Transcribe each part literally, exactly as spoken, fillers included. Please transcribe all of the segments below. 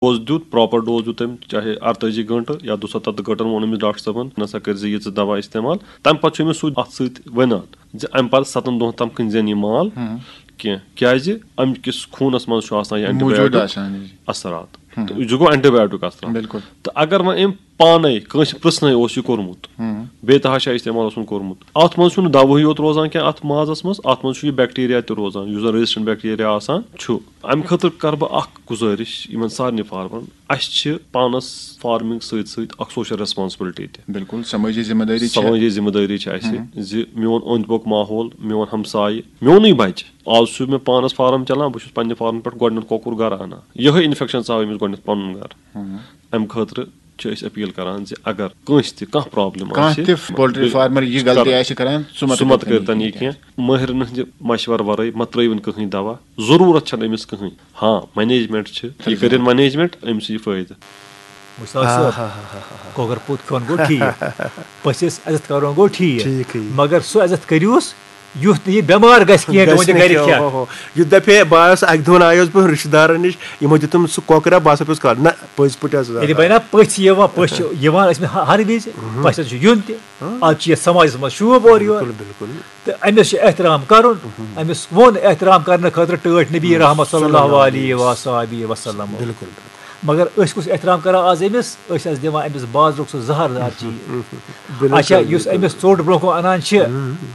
Dose دیُت، proper dose دیُت تٔمۍ، چاہے اَرتٲجی گٲنٛٹہٕ یا دُسَتَتھ گٲنٛٹَن ووٚن أمِس ڈاکٹر صٲبن، نسا کٔرۍ زِ یہِ ژٕ دوا استعمال۔ تَمہِ پَتہٕ چھُ أمِس سُہ اَتھ سۭتۍ وَنان زِ اَمہِ پَتہٕ سَتَن دۄہَن تام کٕنۍ زٮ۪ن یہِ مال کینٛہہ، کیازِ اَمہِ کِس خوٗنَس منٛز چھُ آسان یہِ موٗجوٗد antibiotic آسان یہِ۔ اثرات۔ تہٕ یہِ گوٚو antibiotic اثرات۔ بِلکُل۔ تہٕ اگر وۄنۍ أمۍ پانے کٲنٛسہِ پرٛژھنَے اوس یہِ کوٚرمُت، بیٚیہِ تہِ ہا چھا استعمال اوسمُت کوٚرمُت۔ اَتھ منٛز چھُنہٕ دوہٕے یوت روزان کینٛہہ، اَتھ مازَس منٛز، اَتھ منٛز چھُ یہِ bacteria تہِ روزان، یُس زَن resistant bacteria آسان چھُ۔ اَمہِ خٲطرٕ کَرٕ بہٕ اَکھ گُزٲرِش یِمَن سارنٕے فارمَرَن، اَسہِ چھِ پانَس farming سۭتۍ سۭتۍ اَکھ social responsibility تہِ۔ بِلکُل، سمٲجی ذمہٕ دٲری چھِ۔ سمٲجی ذمہٕ دٲری چھِ اَسہِ زِ میون اوٚنٛد پوٚک ماحول، میون ہمسایہِ، میونُے بَچہِ۔ آز چھُ مےٚ پانَس فارم چَلان، بہٕ چھُس پنٛنہِ فارمہٕ پٮ۪ٹھ گۄڈٕنیُک کۄکُر گَرٕ اَنان۔ یِہوٚے infection ژاو أمِس گۄڈٕنیُتھ پَنُن گَرٕ۔ اَمہِ خٲطرٕ چھِ أسۍ appeal کَران زِ اگر کٲنٛسہِ تہِ کانٛہہ problem کانٛہہ آسہِ، تہِ poultry farmer یہِ غلطی آسہِ کَران، سُہ مہ سُہ مہ کٔرِتَن کٔرۍتَن یہِ یہِ کینٛہہ۔ مٲہرَن ہٕنٛدِ مَشوَرٕ وَرٲے مہ ترٛٲیوُن کٕہٕنۍ دَوا، ضروٗرت چھَنہٕ أمِس کٕہٕنۍ۔ ہاں، management چھِ، یہِ کٔرِن management، أمِس یی فٲیدٕ۔ مُشتاق صٲب، کۄکَر پوٗت کھیوٚن گوٚو ٹھیٖک، پٔژھِس عزت کَرُن گوٚو ٹھیٖک، ٹھیٖک، ٹھیٖک۔ مگر سُہ عزت کٔرِوس یُتھ نہٕ یہِ بٮ۪مار گژھِ کینٛہہ، گژھِ تُہٕنٛدِ نہٕ گَرِ کینٛہہ، کھٮ۪تھ۔ ہو، ہو۔ یُتھ دَپہِ ہے، بہٕ آس اَکہِ دۄہَن آیوس بہٕ رِشتہٕ دارَن نِش، یِمو دیُتُم سُہ کۄکرا، بہٕ ہسا پیوٚس کَرُن۔ نہ، پٔزۍ پٲٹھۍ حظ۔ ییٚلہِ بَنہِ نا پٔژھۍ یِوان، پٔژھۍ چھِ یِوان، أسۍ مےٚ ہر وِزِ، پَژھٮ۪ن چھُ یُن تہِ۔ آز چھِ یَتھ سماجَس منٛز شوٗب اورٕ یورٕ۔ بِلکُل، بِلکُل۔ تہٕ أمِس چھُ احترام کَرُن، أمِس ووٚن احترام کَرنہٕ خٲطرٕ ٹٲٹھۍ نبی رحمت صلی اللہ علیہ و صحبہ وسلم۔ بِلکُل، بِلکُل۔ مگر أسۍ کُس احترام کَرو آز أمِس؟ أسۍ حظ دِوان أمِس بازرُک سُہ زہر دار چیٖز۔ بِلکُل، اچھا، بِلکُل، یُس بِلکُل۔ أمِس ژوٚٹ برونٛہہ کُن اَنان چھِ،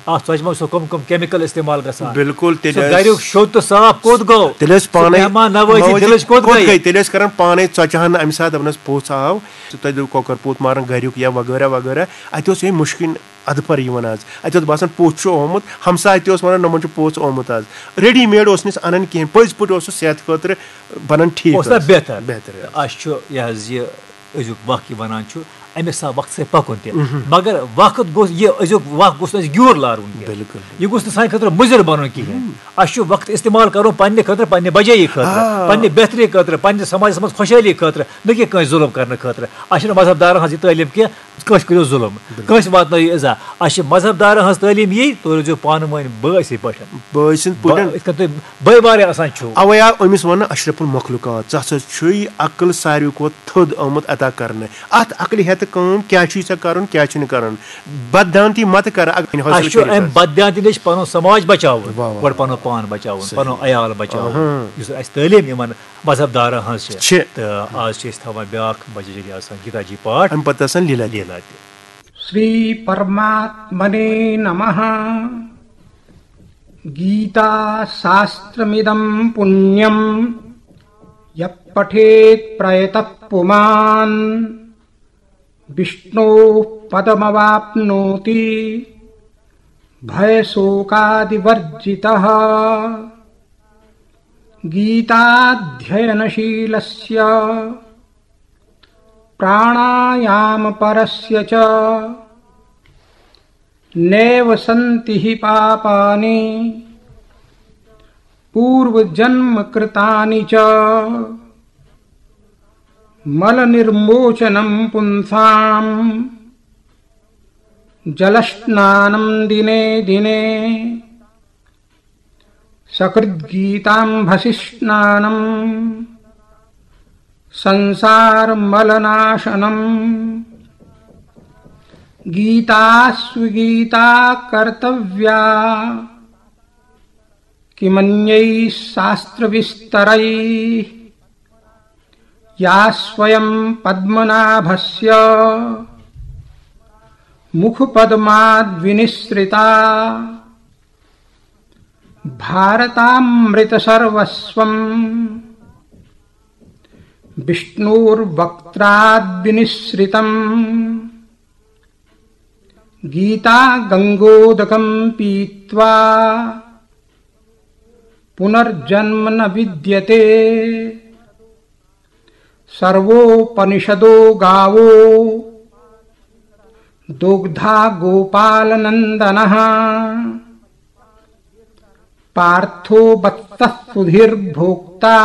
اَتھ ژۄچہِ منٛز چھُ کٕم کٕم chemical استعمال گژھان؟ بِلکُل، تیٚلہِ سُہ ٲسۍ گَریُک شوٚد تہٕ صاف کوٚت گوٚو؟ تیٚلہِ ٲسۍ سُہ پانَے مہمان نوٲزی مہمان دِلٕچ کوٚت کوٚت گٔے؟ گٔے؟ تیٚلہِ ٲسۍ کَران پانَے ژۄچہِ ہَن اَمہِ ساتہٕ دَپان ٲسۍ، پوٚژھ آو، ژٕ تۄہہِ دیُت کۄکَر پوٗت مارَن گَریُک یا وغٲرہ وغٲرہ۔ اَتہِ اوس ہے مُشکِن اَدٕ پَر یِوان آز۔ اَتہِ اوس باسان پوٚژھ چھُ آمُت، ہمساے تہِ اوس وَنان، نۄمَن چھُ پوٚژھ آمُت آز۔ ready made اوس نہٕ أسۍ اَنان کِہیٖنۍ، پٔزۍ پٲٹھۍ اوس سُہ صحت خٲطرٕ بَنان ٹھیٖک اوس نا حظ۔ بہتر۔ بہتر۔ تہٕ اَسہِ چھُ یہِ حظ یہِ أزیُک وق یہِ وَنان چھُ، أمِس آو وقتہٕ سۭتۍ پَکُن تہِ۔ مگر وقت گوٚژھ، یہِ أزیُک وق گوٚژھ نہٕ اَسہِ گیوٗر لارُن کینٛہہ۔ بِلکُل۔ یہِ گوٚژھ نہٕ سانہِ خٲطرٕ مُضِر بَنُن کِہیٖنۍ۔ اَسہِ چھُ وقت استعمال کَرُن پنٛنہِ خٲطرٕ، پنٛنہِ بجٲیی خٲطرٕ، آ۔ پنٛنہِ بہتری خٲطرٕ، پنٛنہِ سماجَس منٛز خۄشحٲلی خٲطرٕ، نہ کہِ کٲنٛسہِ ظُلم کَرنہٕ خٲطرٕ۔ اَسہِ چھِنہٕ مذہب دارَن ہٕنٛز یہِ تعلیٖم کینٛہہ، کٲنٛسہِ کٔرِو ظُلم، بِلکُل۔ کٲنٛسہِ واتنٲیِو اِزا۔ اَسہِ چھِ مذہب دارَن ہٕنٛز تعلیٖم یی، تُہۍ روٗزِو پانہٕ ؤنۍ بٲے اِتھَے پٲٹھۍ۔ بٲے سٕنٛدۍ پٲٹھۍ۔ با-، یِتھ کٔنۍ تُہۍ بٲے وارٕ آسان چھِو۔ اَوَے آو أمِس وَننہٕ اشرف المخلوقات، ژٕ ہسا چھُے عقل ساروی کھۄتہٕ تھوٚد آمُت عطا کرنہٕ۔ اَتھ عقلہِ ہٮ۪تہٕ کٲم کیٛاہ چھُے ژےٚ کَرُن، کیٛاہ چھُنہٕ کَرُن۔ بددانتی مت کر، اَگ-، حٲصِل اَسہِ چھُ کٔرِتھ اَمہِ حظ۔ بددانتی نِش پَنُن سماج بچاوُن، واہ، واہ۔ گۄڈٕ پَنُن پان بچاوُن، صحیح۔ پَنُن عیال بچاوُن، اَہَن۔ یُس اَسہِ تعلیٖم یِمَن مذہب دارَن ہٕنٛز چھِ۔ چھِ۔ تہٕ آز چھِ أسۍ تھاوان بیٛاکھ بجہِ جگہ آسان گیٖتا جی پاٹھ۔ اَمہِ پَتہٕ آسان لیٖلا تہِ۔ لیٖلا تہِ۔ श्रीपरमात्मने नमः। गीताशास्त्रमिदं पुण्यं यः पठेत् प्रयतः पुमान्। विष्णोः पदमवाप्नोति भयशोकादिवर्जितः। गीताध्ययनशीलस्य प्राणायामपरस्य च नैव सन्ति हि पापानि पूर्वजन्मकृतानि च। मलनिर्मोचनं पुंसां जलस्नानं दिने दिने। सकृद्गीताम्भसिस्नानं संसारमलनाशनम्। गीतास्वगीता कर्तव्या किमन्यैः शास्त्रविस्तरैः। या स्वयं पद्मनाभस्य मुखपद्माद्विनिःसृता। भारतामृतसर्वस्वं विष्णोर्वक्त्राद्विनिःसृतम्। गीता गङ्गोदकं पीत्वा पुनर्जन्म न विद्यते। सर्वोपनिषदो गावो दोग्धा गोपालनन्दनः। पार्थो वत्सः सुधीर्भोक्ता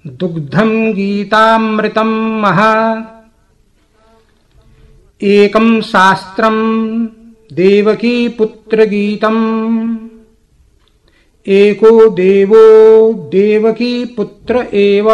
दुग्धं गीतामृतं महत्। एकं शास्त्रं देवकीपुत्रगीतम्। एको देवो देवकी पुत्र एव।